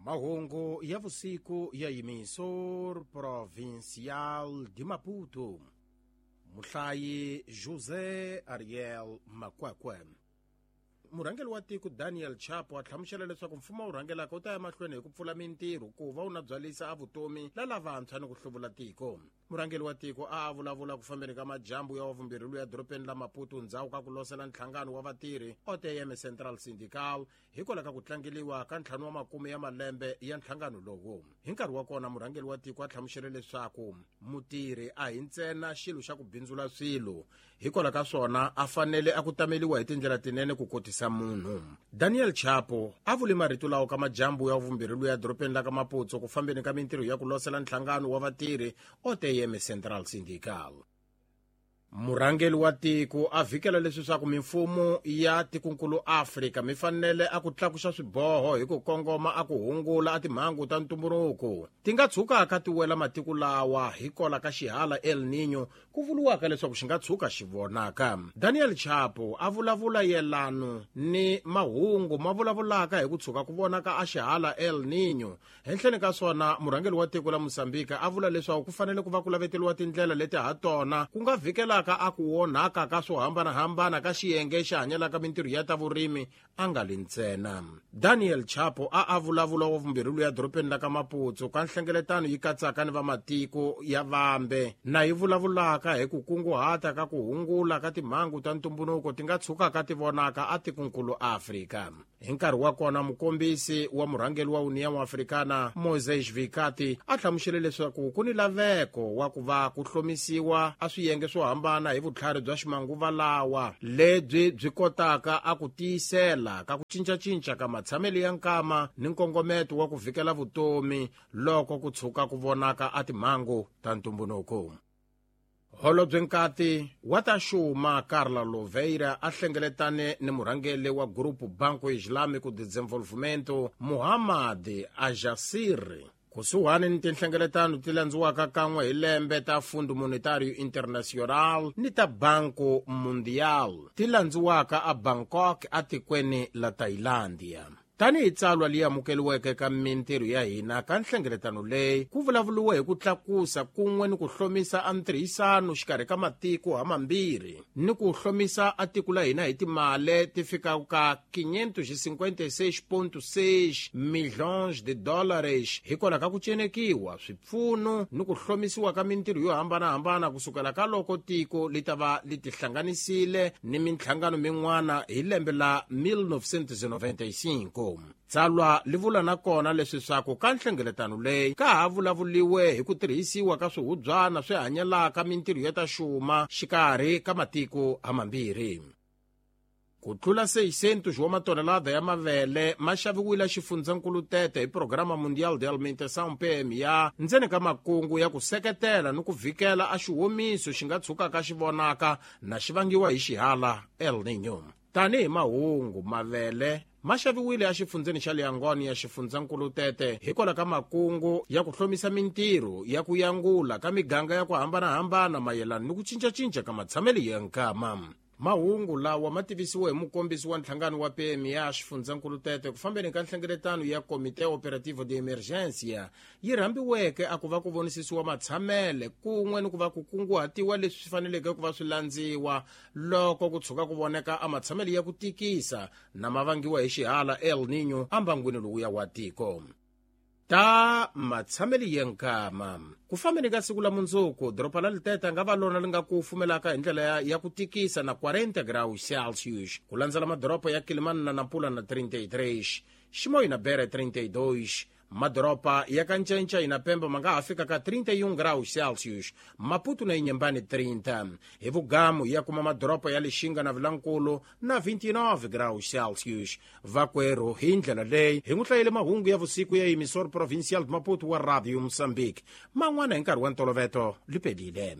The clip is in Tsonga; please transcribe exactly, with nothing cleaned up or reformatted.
Mahungu ya vusiku ya Emissor Provincial de Maputo. Muhlayi José Ariel Makwakwe. Murhangeri wa tiko Daniel Chapo a hlamusela leswaku mfumo wu rhangelaka wu ta ya mahlweni hi ku pfula mintirho ku va wu na byalisa a vutomi la lavantshwa ni ku hluvula tiko. Murhangeri wa tiko a a vulavula ku fambeni ka majambu ya wavumbirhi luya dorobeni la Maputo ndzhaku ka ku losela nhlangano wa vatirhi O T M Central Syndical hikwalaho ka ku tlangeliwa ka ntlhanu wa makume ya malembe ya nhlangano lowu. Hi nkarhi wa kona murhangeri wa tiko a hlamusele leswaku mutirhi a hi ntsena xilo xa ku bindzula swilo, hikwalaho ka swona a fanele a ku tameliwa hi tindlela tinene ku kotisa munhu. Daniel Chapo a vule marito lawa ka majambu ya vumbirhi luya dorobeni la ka Maputo ku fambeni ka mintirho ya ku losela nhlangano wa vatirhi O T M Central Syndical. Murhangeri wa tiko a vhikela leswi swa ku mimfumo ya tikonkulu Afrika mi fanele a ku tlakusa swiboho hi ku kongoma a ku hungula a timhangu ta ntumbuluko ti nga tshukaka ti wela matiko lawa hikola ka xihala El Niño ku vuriwaka leswaku xi nga tshuka xi vonaka. Daniel Chapo a vulavula yelano ni mahungu ma vulavulaka hi ku tshuka ku vonaka a xihala El Niño. Henhleni ka swona murhangeri wa tiko la Mozambique a vula leswaku ku fanele ku va ku laveteliwa tindlela leti ha tona ku nga vhikela ka a ku onhaka ka swo hambanahambana ka xiyenge xi hanyelaka mintirho ya ta vurimi a nga li ntsena. Daniel Chapo a a vulavula wa vumbirhi luya dorobeni la ka Maputo ka nhlengeletano yi katsaka ni vamatiko ya vambe na yi vulavulaka hi ku kunguhata ka ku hungula ka timhangu ta ntumbuluko ti nga tshukaka ti vonaka a tikonkulu Afrika. Hi nkarhi wa kona mukombisi wa murhangeri wa União Africana Moisés Vikati a hlamusele leswaku ku ni laveko wa ku va ku hlomisiwa a swiyenge swo hambana hi vutlhari bya ximanguva lawa lebyi byi kotaka a ku tiyisela ka ku cincacinca ka matshamelo ya nkama ni nkongometo wa ku vhikela vutomi loko ku tshuka ku vonaka a timhangu ta ntumbuluko. Holobye Nkati wa ta xuma Carla Louveira a hlengeletane ni murhangeri wa Grupo Banco Islâmico de Desenvolvimento Muhammad Ajassir kusuhani ni tinhlengeletano ti landziwaka kan'we hi lembe ta Fundo Monetario Internacional ni ta Banco Mundial ti landziwaka a Bangkok atikweni la Thailandia. Tanihi tsalwa leyi amukeriweke ka mintirho ya hina ka nhlengeletano leyi ku vulavuriwe hi ku tlakusa kun'we ni ku hlomisa a ntirhisano xikarhi ka matiko hamambirhi ni ku hlomisa a tiko la hina hi timali ti fikaka ka quinhentos e cinquenta e seis ponto seis milhões de dólares hikwalaho ka ku cenekiwa swipfuno ni ku hlomisiwa ka mintirho yo hambanahambana kusukela ka loko tiko li ta va li tihlanganisile ni minhlangano min'wana hi lembe la mil novecentos e noventa e cinco. Tsalwa li vula na kona leswi swaku ka nhlengeletano leyi ka ha vulavuliwe hi ku tirhisiwa ka swihubyana swi hanyelaka mintirho ya ta xuma xikarhi ka matiko hamambirhi. Ku tlula seiscentos wa matonelada ya mavele ma xaviwile xifundzankulu Tete hi Programa Mundial de Alimentação P M A ndzeni ka makungu ya ku seketela ni ku vhikela a xihomiso xi nga tshukaka xi vonaka na xi vangiwa hi xihala El Niño. Tanihi mahungu mavele ma xaviwile exifundzeni xa Liangoni ya xifundzankulu Tete hikwalaho ka makungu ya ku hlomisa mintirho ya ku yangula ka miganga ya ku hambanahambana mayelana ni ku cincacinca ka matshamelo ya nkama. Mahungu lawa ma tivisiwe hi mukombisi wa nhlangano wa P M A xifundzankulu Tete ku fambeni ka nhlengeletano ya Comité Operativo de Emergência yi rhambiweke a ku va ku vonisisiwa matshamele kun'we ni ku va ku kunguhatiwa leswi swi faneleke ku va swi landziwa loko ku tshuka ku voneka a matshamele ya ku tikisa na ma vangiwa hi xihala El Niño ambangwini lowuya wa tiko. Ta matshameli ya nkama ku fambeni ka siku la mundzuku doroba la Litete nga va lona li nga ku fumelaka hi ndlela ya, ya ku tikisa na quarenta graus Celsius ku landzela madoroba ya Kilimani na Nampula na trinta e três, Chimoio na Beira trinta e dois, madoroba ya Kancanca na Pemba ma nga ha fika ka trinta e um graus Celsius, Maputo na Inhambane trinta, hi vugamu ya kuma madoroba ya Lixinga na Vilankulu na vinte e nove graus Celsius. Vakwerhu hi ndlela leyi hi n'wi hlayele mahungu ya vusiku ya Emissor Provincial de Maputo wa Radio Moçambique man'wana hi nkarhi wa ntoloveto li pelile.